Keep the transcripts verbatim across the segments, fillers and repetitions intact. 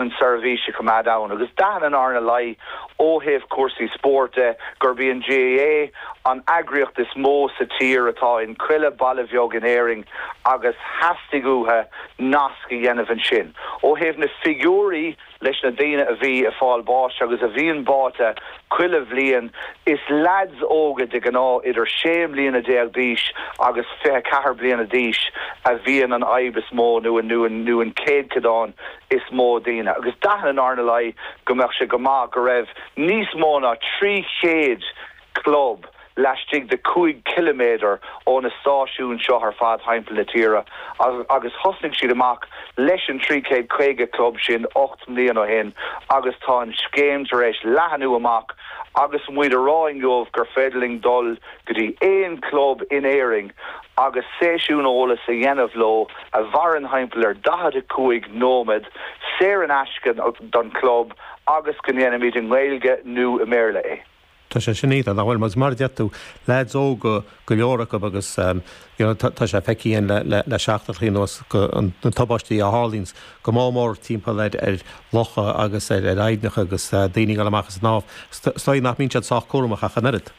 An seirbhís a choimeád ann agus d'aithin an R N L I ó thaobh cúrsaí spóirt de gurb í an G A A an eagraíocht is mó sa tír atá in chuile baile bheag in Éirinn agus theastaigh uathu nasc a dhéanamh ansin. Ó thaobh na figiúirí leis na daoine a bhí ag fáil báis agus a bhíonn báite chuile bhliain, is lads óga de ghnáth idir sé bliana déag d'aois agus fiche ceathair bliana d'aois a bhíonn an fhadhb is mó nó nó nó an céatadán is mó daoine. Agus d'aithin an R N L I go mbeadh sé go maith go raibh níos mó ná trí chéad club laistigh de cúig kilometer ó na stáisiúin seo ar fad timpeall na tíre, agus thosnaigh siad amach leis an trí chéad caoga club sin ocht mbliana ó shin, agus tá an scéim tar éis leathnú amach agus muid a rá inniu gur féidir linn dul go dtí aon club in Éirinn agus seisiún eolais a dhéanamh leo a mhaireann timpeall ar daichead a cúig nóiméad, saor in aisce don club, agus go ndéanaimid i nGaeilge nó i mBéarla é. Tá sé sin iontach, nach bhfuil? Mas mar deir tú, lads óga go leor acu agus um, you know, tá sé feicthe le, le, le seachtainí anuas na tubaistí a tharlaíonn go mór mór timpeall ar, ar locha agus ar ar aibhneacha agus uh, daoine ag dul amach ag snámh. Stoi nach mbíonn siad sách cúramach ach an oiread.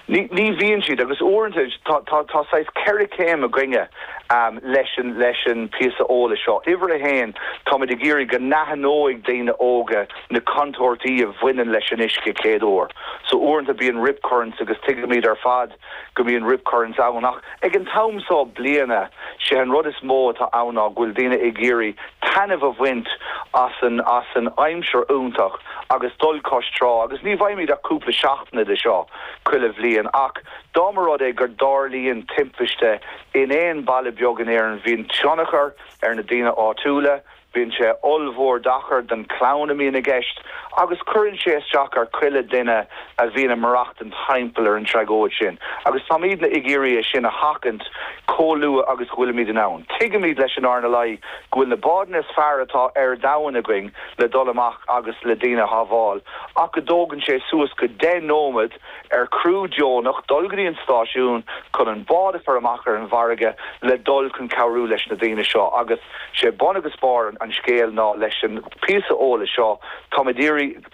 Ní, ní bhíonn siad, agus uaireanta tá tá tá saghas ceithre chéim againne um, leis an leis an píosa eolais seo. Uimhir a haon, táimid ag iarraidh go n-aithneoidh daoine óga na contúirtí a bhaineann leis an uisce céad uair. So uaireanta bíonn rip currents agus tuigimid ar fad go mbíonn rip currents ann, ach ag an t-am seo bliana sé an rud is mó atá ann ná go bhfuil daoine ag iarraidh taitneamh a bhaint as an as an aimsir iontach agus dul cois trá, agus ní bhfaighimid ach cúpla seachtain de seo chuile bhliain, ach dá mba rud é go dtarlaíonn timpiste in aon baile beag in Éirinn, bhíonn tionchar ar na daoine áitiúla, bíonn sé ollmhór deacair don chlann a mbíonn i gceist, agus cuireann sé isteach ar chuile duine a bhíonn ag maireachtaint timpeall ar an tragóid sin. Agus táimid ag iarraidh é sin a sheachaint chomh luath agus go bhfuilimid in ann. Tuigimid leis an R N L I go bhfuil na báid is fearr atá ar domhan againn le dul amach agus le daoine a shábháil, ach go dtógann sé suas go deich nóiméad ar criú deonach dul go dtí an stáisiún chun an bád a chur amach ar an bhfarraige le dul chun cabhrú leis na daoine seo. Agus sé bun agus barr an scéil ná leis an píosa eolais seo táimid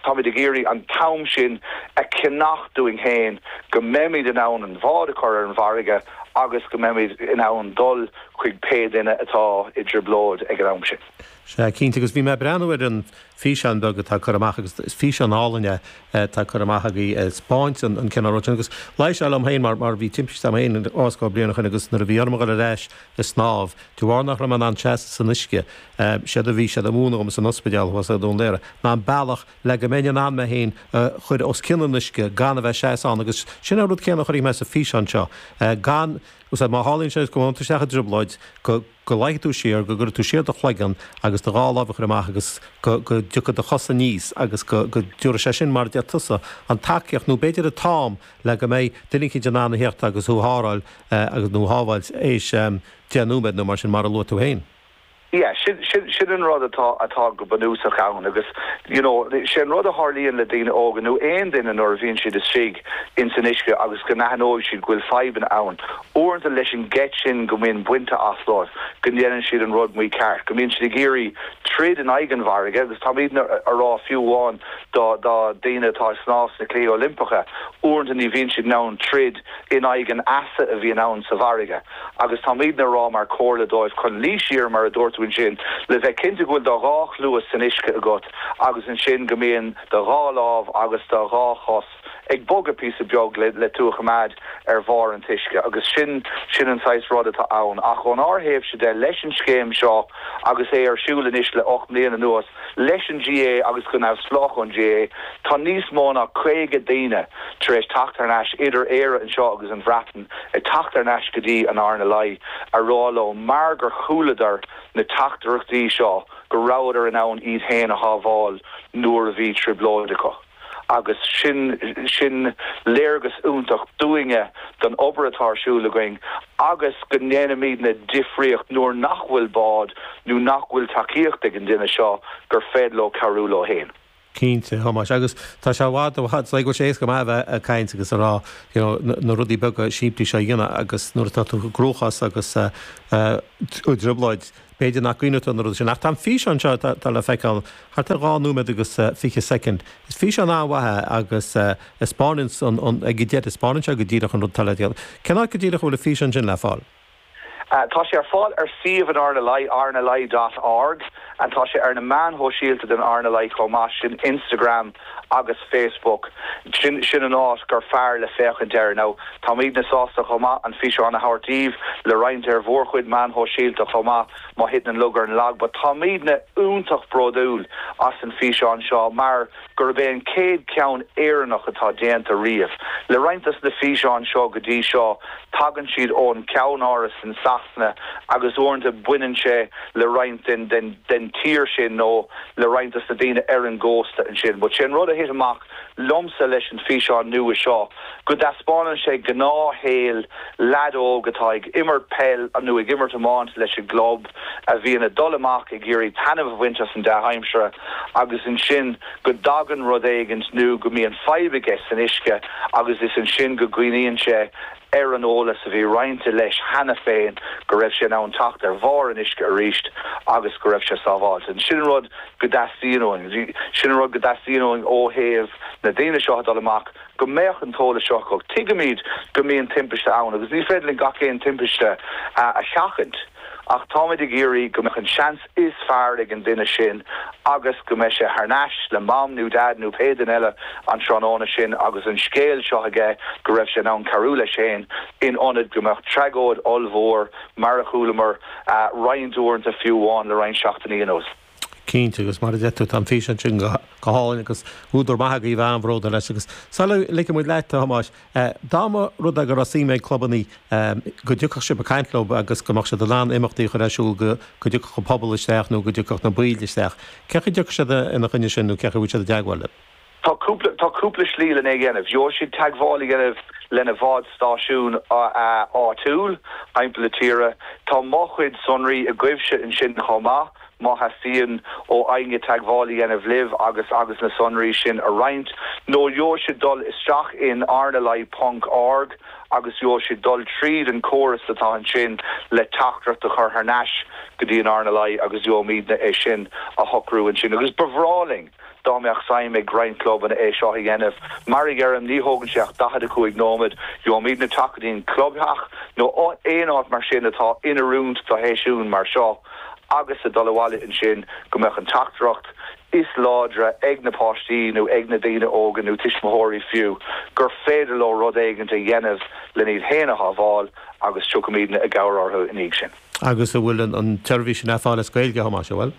táimid ag iarraidh an t-am sin a cheannach dúinn féin, go mbeimid in ann an bád a chur ar an bhfarraige agus go mbeimid in ann dul chuig pé duine atá i dtrioblóid ag an am sin. Sé cinnte, agus bhí mé breathnú ar an físeán beag atá curtha amach, agus is físeán álainn atá curtha amach agaibh, spáint an cineál rud agus leis liom féin mar mar bhí timpiste féin os cionn bliain agus nuair a bhí orm dul ar ais ag snámh, de bharr nach raibh mé in ann seasamh san uisce, séard a bhí siad ag múineadh dom san ospidéal thuas i Dún Laoghaire ná an bealach le go mbeinn in ann mé féin chur os cionn an uisce gan a bheith seasamh ann, agus sin an rud céanna a chuirfidh mé sa físeán seo gan má tharlaíonn sé go bhfuil isteach i dtrioblóid, go go luífidh tú siar, go gcuirfidh tú siar do chloigeann agus do dhá lámh a chur amach agus go go dtiocfaidh do chosa aníos agus go go dtabharfaidh sé sin, mar a deir tusa, an tacaíocht nó b'fhéidir an t-am le go mbeidh duine éicint in ann a theacht agus thú a tharrtháil agus nó shábháilt éis deich nóiméad nó mar sin, mar a luaigh tú féin. Yeah, sin sin sin an rud atá atá go bunúsach ann, agus you know sé an rud a tharlaíonn le daoine óga nó aon duine nuair a bhíonn siad istigh in san uisce agus go n-aithneoidh siad go bhfuil fadhbanna ann, uaireanta leis an geit sin go mbíonn bainte as leo, go ndéanann siad an rud mícheart, go mbíonn siad ag iarraidh troid in aghaidh an bhfarraige. Agus táimid a rá fiú amháin do do daoine atá snámh sna Cluichí Oilimpeacha, uaireanta ní bhíonn siad in ann troid in aghaidh an easa a bhíonn ann sa bhfarraige, agus táimid a rá mar chomhairle dóibh chun luí siar, mar a dúirt tú ansin, le bheith cinnte go bhfuil do dhá chluas san uisce agat, agus ansin go mbíonn do dhá lámh agus do dhá chos ag bogadh píosa beag le le tú a choimeád ar bharr an uisce. Agus sin sin an saghas rud atá ann. Ach ón ár thaobhsa de leis an scéim seo agus é ar siúl anois le ocht mbliana anuas leis an G A A agus go neamhspleách ón G A A, tá níos mó ná caoga daoine tar éis teacht ar ais idir Éire anseo agus an Bhreatain, ag teacht ar ais go dtí an R N L I a rá leo mar gur chualadar na teachtaireachtaí seo go rabhadar in ann iad féin a shábháil nuair a bhí trioblóid acu. Agus sin sin léargas iontach dúinne don obair atá ar siúl againn agus go ndéanaimid na difríocht nuair nach bhfuil bád nó nach bhfuil tacaíocht ag an duine seo gur féidir leo cabhrú leo féin. Cinnte, a Thomáis, agus tá sé i bhfad, i bhfad, go bhfuil sé éasca maith a bheith ag caint agus a rá, you know, na rudaí beaga simplí seo a dhéanamh agus nuair atá tú i gcruachás agus i dtrioblóid, b'fhéidir nach gcuimhneoidh tú ar na rudaí sin. Ach tá an físeán seo atá le feiceáil thart ar dhá nóiméad agus fiche soicind. Is físeán an-mhaith é agus taispeánann an, ag an deireadh, taispeánann sé go díreach an rud atá le déanamh. Cén áit go díreach a bhfuil an físeán sin le fáil? Tá sé ar fáil ar suíomh an RNLI, rnli dot org, and tá sé ar na meáin shóisialta den RNLI chomh maith, sin Instagram agus Facebook. Sin sin an áit gur fearr le féachaint air. Now, táimidne sásta chomh maith an físeán a thabhairt daoibh le roinnt ar bhur chuid meáin shóisialta chomh maith má thiteann an lug ar an lag, but táimidne iontach bródúil as an físeán seo mar gurb é an chéad ceann Éireannach atá déanta riamh. Le roinnt des na físeáin seo go dtí seo, tagann siad ón ceannáras in Sasana agus uaireanta baineann sé le roinnt den den den tír sin nó le roinnt des na daoine ar an gcósta ansin. But sé an rud a thit amach liomsa leis an físeán nua seo go dtaispeánann sé gnáthshaol leaid óg atá ag imirt peil nó ag imirt iomáint leis an gclub a bhíonn ag dul amach ag iarraidh taitneamh a bhaint as an dea-aimsire agus ansin go dtagann rud éigint nó go mbíonn fadhb aige san uisce agus is ansin go gcuimhníonn sé ar an eolas a bhí roinnte leis cheana féin go raibh sé in ann teacht ar bharr an uisce arís agus go raibh sé sábháilte. Sin an rud go dteastaíonn uainn. Sin an rud go dteastaíonn uainn ó thaobh na daoine seo a dul amach, go mbeadh an t-eolas seo acu. Tuigimid go mbíonn timpiste ann agus ní féidir linn gach aon timpiste a sheachaint ach táimid ag iarraidh go mbeadh an seans is fearr ag an duine sin agus go mbeidh sé thar n-ais le Mam nó Dad nó pé duine eile an tráthnóna sin agus an scéal seo aige go raibh sé in ann cabhrú leis féin in ionad go mbeadh tragóid ollmhór mar a chualamar roinnt uaireanta fiú amháin le roinnt seachtainí anuas. Cinnte, agus mar a deir tú, tá an físeán sin go hálainn agus údar maith agaibh bheith an-bhródúil leis. Agus sula ligfidh muid leat, a Thomáis, dá mba rud é go raibh suim ag clubanna go dtiocfadh sibh ag caint leo agus go mbeadh siad in ann imeachtaí a chur ar siúl go dtiocfadh an pobal isteach nó go dtiocfadh na baill isteach, cén chaoi a dtiocfadh siad ina choinne sin nó cén chaoi a bhfuil siad i dteagmháil libh? Tá cúpla, tá cúpla slí lena dhéanamh. Gheobhaidh siad teagmháil a dhéanamh lena bhád stáisiún áitiúil thimpeall na tíre. Tá mo chuid sonraí agaibhse ansin chomh maith, má theastaíonn ó éinne teagmháil a dhéanamh libh agus agus na sonraí sin a roinnt. Nó gheobhaidh siad dul isteach in rnli ponc org agus gheobhaidh siad dul tríd an córas atá ansin le teachtaireacht a chur thar n-ais go dtí an RNLI agus gheobhaimidne é sin a shocrú ansin. Agus ba bhreá linn dá mbeadh suim ag roinnt clubanna é seo a dhéanamh. Mar a deirim, ní thógann sé ach daichead a cúig nóiméad. Gheobhaimidne teacht go dtí an clubtheach nó aon áit mar sin atá in oiriúint do sheisiún mar seo agus a dul abhaile ansin go mbeadh an teachtaireacht is láidre ag na páistí nó ag na daoine óga nó tuismitheoirí fiú gur féidir leo rud éigin a dhéanamh len iad féin a shábháil agus tiocfaimidne i gcabhair orthu ina dhiaidh sin. Agus an bhfuil an tseirbhís sin ar fáil as Gaeilge, a Thomáis, an bhfuil?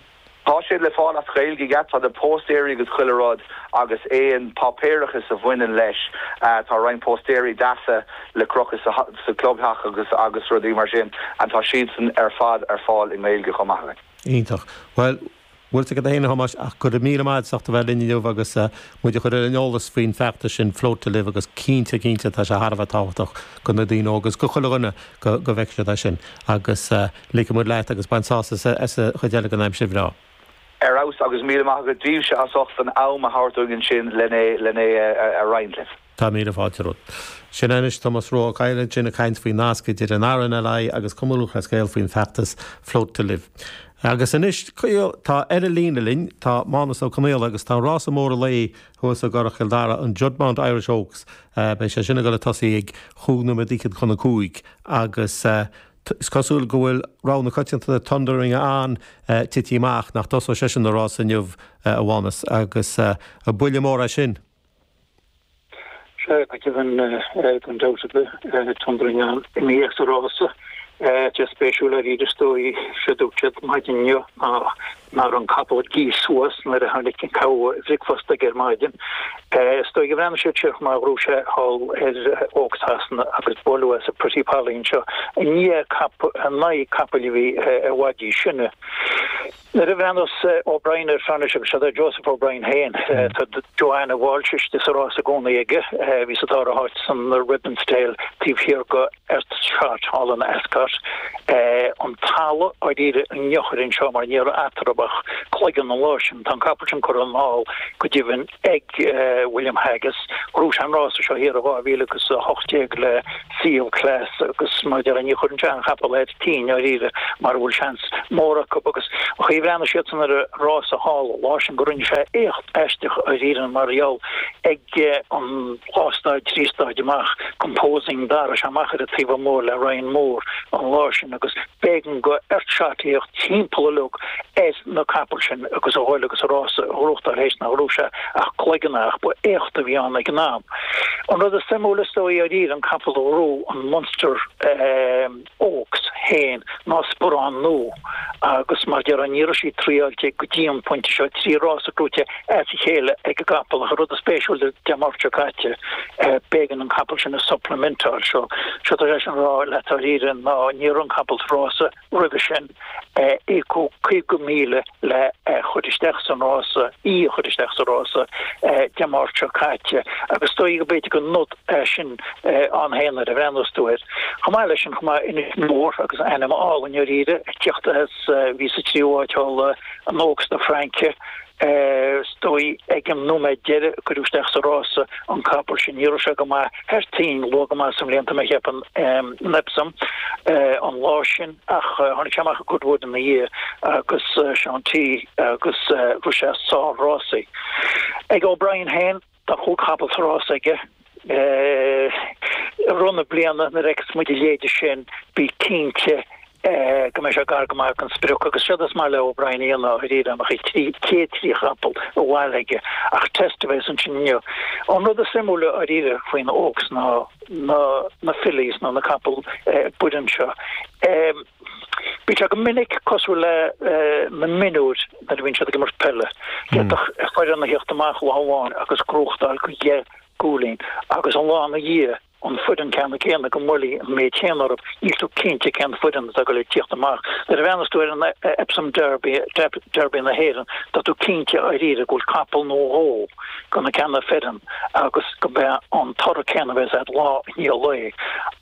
Tá sé le fáil as Gaeilge, yeah, tá na póstaeirí agus chuile rud agus aon páipéarachas a bhaineann leis, tá roinnt póstaeirí deasa le crochadh sa sa clubtheach agus agus rudaí mar sin and tá siadsan ar fad ar fáil i nGaeilge chomh maith againn. Iontach. Bhuel, bhfuil a fhios agat féin a Thomáis ach go raibh míle maith agat as ucht a bheith linn inniu agus muid a chur ar an eolas faoin bhfeachtas sin Float to Live agus cinnte cinnte tá sé thar a bheith tábhachtach go na daoine óga agus go chuile dhuine go go bhfeicfidh siad é sin agus ligfidh muid leat agus bain sásamh as an chuid eile den aimsir bhreá. Ar fheabhas agus míle maith agat daoibhse as ucht an am a thabhairt dúinn ansin len é len é a roinnt libh. Tá míle fáilte romhat. Sin anois Tomás Rua Ó Cadhain ansin ag caint faoin nasc idir an RNLI agus Cumann Lúthchleas Gael faoin bhfeachtas Float to Live. Agus anois, tá ar an líne linn, tá Mánus Ó Conaola agus tá an rása mór an lae thuas i gCurrach Chill Dara, an Juddmonte Irish Oaks. Beidh sé sin ag dul ag tosaí ag chúig nóiméad fhichead chun a cúig agus is cosúil go bhfuil rogha na coitiantachta Thundering Ann tite amach, nach dtosóidh seisean an rás inniu, a Mhánus, agus buille mór é sin. Sea, go deimhin, gan dabht ar bith, Thundering Ann imithe as an rása. Tá spéisiúil arís is dóigh, séard a dúirt siad maidin inniu ná nach raibh an capall gaoth suas nuair a tháinig an cabha bhricfeasta aige ar maidin. Is dóigh gur bhreathnaigh siad siar chomh maith go raibh sé thall ar Oaks Shasana agus buaileadh é sa Pretty Polly anseo i ndiaidh in aghaidh capaill a bhí i bhfad níos sine. Nuair a bhreathnaíos O'Brien ar anois agus seo Joseph O'Brien féin tá Joanna Walsh istigh sa rás i gcónaí aige bhí sa dara háit san Ribbonsdale taobh thiar go Earthshot thall in Ascot an talamh dáiríre an eochair anseo mar ní raibh eatarthu ach cloigeann an lá sin tá an capall sin curtha anall go deimhin ag William Haggas ghnóthaigh sé an rása seo thiar i dhá mhíle agus a hocht déag le Sea of Class agus mar a déarfá ní chuireann sé an capall ar tine dáiríre mar a bhfuil seans mór acu agus an chaoi a bhreathnaigh siadsan ar an rása thall an lá sin go rinne sé éacht aisteach dáiríre mar gheall ag an dhá staid trí staid amach Composing d'éirigh sé amach ar an taobh amuigh le Ryan Moore an lá sin agus b'éigean go Earthshot theacht timpeall uilig ar na capaill sin agus a dhul agus an rása a ghnóthachtáil théis nach raibh sé ach cloigeann ach ba éacht a bhí ann ag an am. An rud is suimiúla is dóigh dáiríre an capall a ghnóthaigh an Munster Oaks féin ná sparán nua agus mar a déarfá ní raibh sí triáilte go dtí an pointe seo trí rása gnóthaithe as a chéile ag an gcapall ach an rud is spéisiúil Dé Máirt seo caite b'éigean an capall sin a supplementáil seo seo tá sé sin rá leat dáiríre ná ní raibh an capall sa rása roimhe sin íocadh caoga míle le chur isteach san rása í a chur isteach sa rása Dé Máirt seo caite agus is dóigh go b'fhéidir go nod é sin ann féin nuair a bhreathnaíos tú air. Chomh maith leis sin chomh maith Inis Mór agus ainm álainn dáiríre ag teacht as bhí sa tríú háit thall an Oaks na Fraince is dóigh ag an nóiméad deiridh a cuireadh isteach sa rása an capall sin. Ní raibh sé go maith thar toinn luath go maith sa mbliain tá mé ag ceapadh in Epsom an lá sin ach tháinig sé amach i Goodwood ina dhiaidh agus Seán T agus rith sé sár-rásaí. Ag O'Brien féin tá cúig chapall sa rás aige. I rith na bliana nuair a fheiceas muid a leithéide sin bí cinnte go mbeidh sé gar go maith don sprioc agus séard is maith le O'Brien a dhéanamh dáiríre amach ag trí chéad trí chapall a bhail aige ach test a bheas ansin inniu. An rud is suimiúla dáiríre faoin Oaks ná na na fillies nó na capaill baineann seo. Bíonn sé go minic cosúil le na mionúir nuair a bhíonn siad ag imirt peile. D'fhéadfadh foireann a theacht amach lá amháin agus gnóthachtáil go dheich gcúilín agus an lá ina dhiaidh an foireann ceanna céanna go mbuailfí an méid céanna orthu, níl tú cinnte cén foireann atá ag dul ag tíocht amach. Nuair a bhreathnas tú ar an Epsom Derby, Derby na hÉireann, tá tú cinnte dáiríre go bhfuil capall nó dhó go na ceanna foireann agus go mbeidh an toradh céanna bheas agat lá i ndiaidh lae.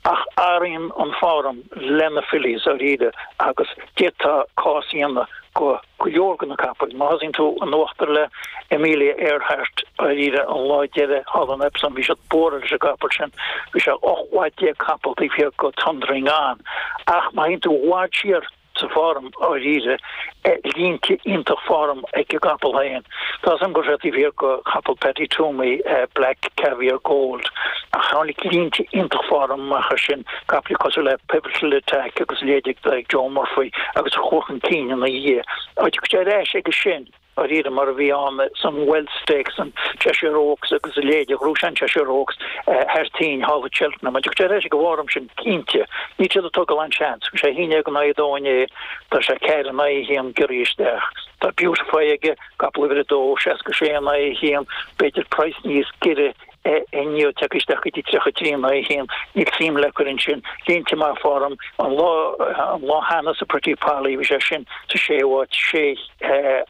Ach athraíonn an form le na fillies dáiríre agus d'fhéadfá cás a dhéanamh go go leor de na capaill. Má thosaíonn tú in uachtar le Amelia Earhart dáiríre an lá deiridh thall in Epsom bhí siad buartha leis an gcapall sin, bhí sé ocht bhfad déag capall taobh thiar go Thundering On. Ach má théann tú i bhfad siar sa form dáiríre línte iontach form ag an gcapall féin. Tá 's agam go raibh sé taobh thiar go capall Paddy Twomey Black Caviar Gold ach tháinig línte iontach form amach as sin, capaill cosúil le Pivotal Attack agus a leithéid ag Joe Murphy agus a chuaigh chun cinn ina dhiaidh. Tiocfaidh sé ar ais aige sin dáiríre mar a bhí ann san Wealth Stakes, an Cheshire Oaks agus a leithéid, ghnóthaigh sé an Cheshire Oaks thar toinn thall i Cheltenham. Tiocfaidh sé ar ais ag an bhform sin cinnte. Níl siad ag tógáil aon seans. Bhí sé a haon déag in aghaidh a dó inné, tá sé ceathair in aghaidh a haon giorraithe isteach. Tá Beautify aige, capall uimhir a dó, seasca sé in aghaidh a haon, b'fhéidir praghas níos giorra inniu tagtha isteach go dtí tríocha trí in aghaidh a haon. Níl suim le cur ansin. Línte maith form an lá an lá cheana sa Pretty Polly bhí sé sin sa séú háit, sé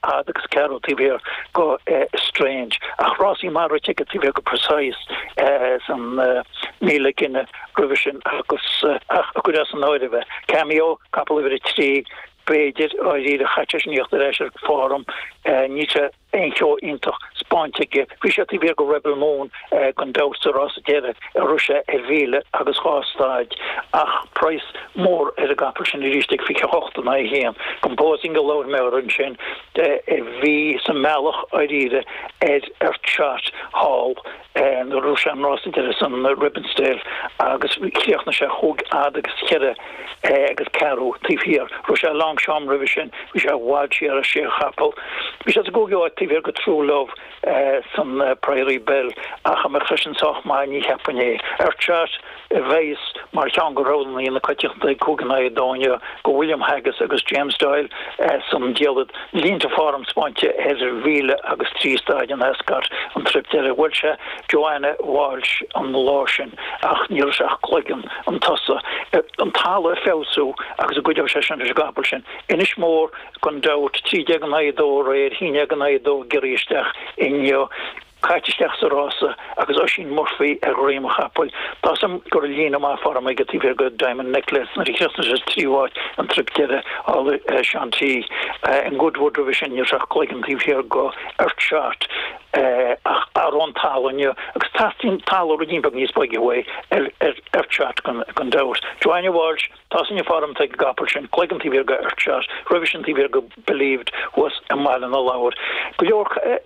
fhad agus ceathrú taobh thiar go Estrange. Ach rásaí maith rite aige taobh thiar go Precise san míle gine roimhe sin agus ach a gcuir as an áireamh é. Cameo, capall uimhir a trí, b'fhéidir, dáiríre chaith sé sin theacht ar ais ar form. Níl sé aon cheo iontach spáinte aige. Bhí sé taobh thiar go Rebel Moon gan dabht sa rása deiridh a rith sé ar mhíle agus dhá staid ach praghas mór ar an gcapall sin arís ag fiche a hocht in aghaidh a haon. Composing a labhair mé air ansin a bhí sa mbealach dáiríre ar Earthshot thall nuair a rith sé an rása deiridh san Ribbonsdale agus chríochnaigh sé chúig fhad agus cheithre agus ceathrú taobh thiar. Rith sé Longchamp roimhe sin, bhí sé i bhfad siar ar sé chapall. Bhí sé sa gcúigiú háit taobh thiar go True Love san Priory Belle ach an mbeadh seisean sách maith ní cheapfainn é. Earthshot a bheas mar cheann de roghanna na coitianta cúig in aghaidh a dó inniu go William Haggas agus James Doyle san diallait. Línte form spáinte ar mhíle agus trí staid in Ascot an trip deiridh. Bhuail sé Joanna Walsh an lá sin ach ní raibh sé ach cloigeann chun tosaigh. An talamh ag feabhsú agus an gcuideoidh sé sin leis an gcapall sin. Inis Mór gan dabht, trí déag in aghaidh a dó aréir, haon déag in aghaidh a dó ag éirí isteach inniu. Caite isteach sa rása agus Oisín Murphy ar dhroim an chapaill. Tá 's a'm go raibh líne maith form aige taobh thiar go Diamond Necklace nuair a chríochnaigh sé sa tríú háit an trip deiridh thall i Sean T. In Goodwood roimhe sin ní raibh sé ach cloigeann taobh thiar go Earthshot ach athrú an talamh inniu agus teastaíonn talamh ruidín beag níos boige uaidh ar Earthshot gan dabht. Joanna Walsh, tá 's againn an form atá ag an gcapall sin, cloigeann taobh thiar go Earthshot, roimhe sin taobh thiar go Believed thuas i mBaile na Lobhar. Go leor nach.